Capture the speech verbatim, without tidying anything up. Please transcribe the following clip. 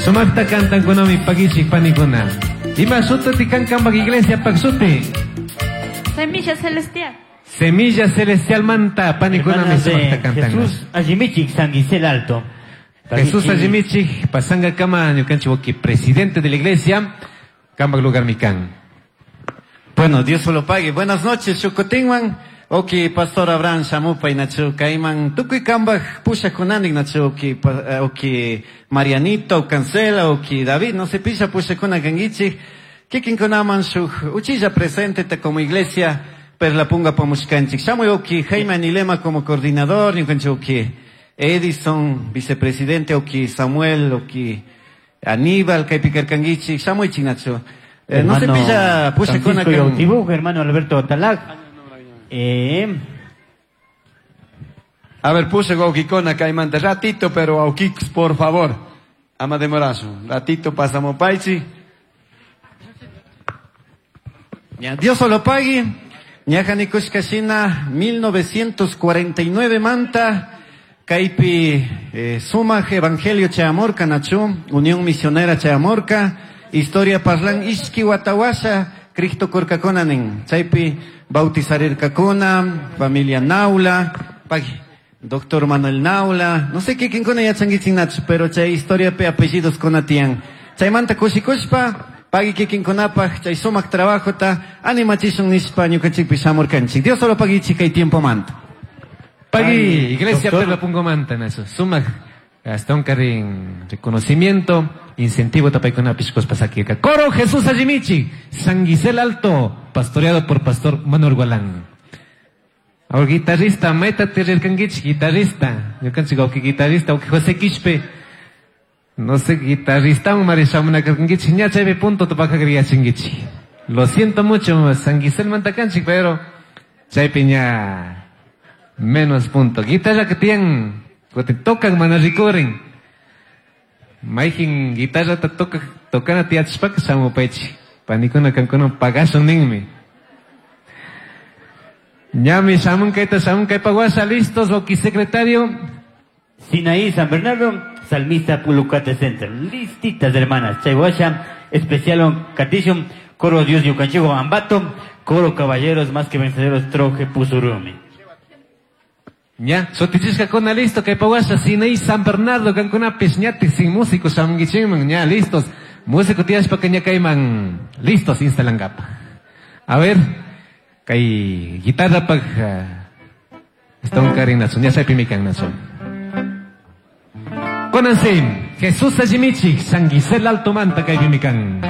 Sumakta cantankunami pagichik panikuna. Ima suti kankanpak iglesia pak suti. Semilla Celestial. Semilla Celestial manta panikunami sumakta cantan. Jesús Allimichik San Gisel Alto. Jesús Allimichik pasanga kama ñukanchik waki presidente de la iglesia kambak lugar mikan. Bueno, Dios lo pague. Buenas noches, Chucotinman. Oki, Pastor Abraham Shamupa y Nachu Kaiman. Tukuy kambaj pushakunanik Nachu, oki, oki Marianito, Cancela, oki David, no se pilla pushakuna kangichi. Kikinkunaman shuj uchilla presente te como iglesia, per la punga pamushkanchik. Shamuy oki Jaime Anilema como coordinador, ñukanchik oki Edison, vicepresidente, oki Samuel, oki Aníbal, kaypikarkangichik, shamuychik Nachu. Eh, no se pilla pushakuna kan. Hermano Alberto Talac. Eh. A ver, puse Gaukikona Caimante, ratito, pero Aukix, por favor. Ama de morazo. Ratito pasamos paichi. Ya, Dios solo pague. Ñajanikushkashina, mil novecientos cuarenta y nueve manta. Kaipi eh, Sumaj Evangelio Chayamorca Nachu, Unión Misionera Chayamorca, Historia Parlan Ishki Watawasha, Cristo Korkakonanen, Chaypi bautizarirkakuna, familia Naula, pagi, doctor Manuel Naula, no sé qué quién ya changuichin nachu, pero chay historia pe apellidos konatian. Chaymanta kushikushpa, pagi kikin konapaj, chay sumak trabajo ta, animachishun nishpa ñukanchikpi shamurkanchik. Dios solo pagi chica y tiempo manta. Pagi, iglesia perla pungo manta nasu, sumak, hasta un carrín reconocimiento, incentivo tapaikuna piscos pasakirka. Coro Jesús Allimichi, San Gisel Alto, pastoreado por Pastor Manuel Gualán. Ahora guitarrista, métate rirkanguich, guitarrista. Yo cancho que guitarrista, o que José Quispe. No sé, guitarrista, un marishamuna karkanguich, ña chaype punto topaka griachinguichi. Lo siento mucho, San Gisel mantakanchik, pero chaype ña menos punto. Guitarra que tienen, que te tocan, mana ricoren. Maijin guitarra ta toca, tocana tiachpak shamupechi. Panikuna kankuna pagasun ninmi. Ñami shamun kaita shamun kaipaguasha listos, oki secretario. Sinaí San Bernardo, Salmista Pulucate Center. Listitas hermanas. Chayhuasha, especial Catishum, Coro Dios Yucanchigo Ambato, Coro Caballeros más que vencedores Troje Pusurumi. Ya, sotichisca con listo, kaipaguasha, Sinaí San Bernardo, kankuna pisñati sin músicos, shamunguichiman, ya, listos. Músico tiashpa caña kaiman, listos, instalangapa. A ver, kay guitarra pag, está un carinazo, ya sabe pimican nazo. Conanse, Jesús Allimichi, San Gisel Alto Manta kay pimican.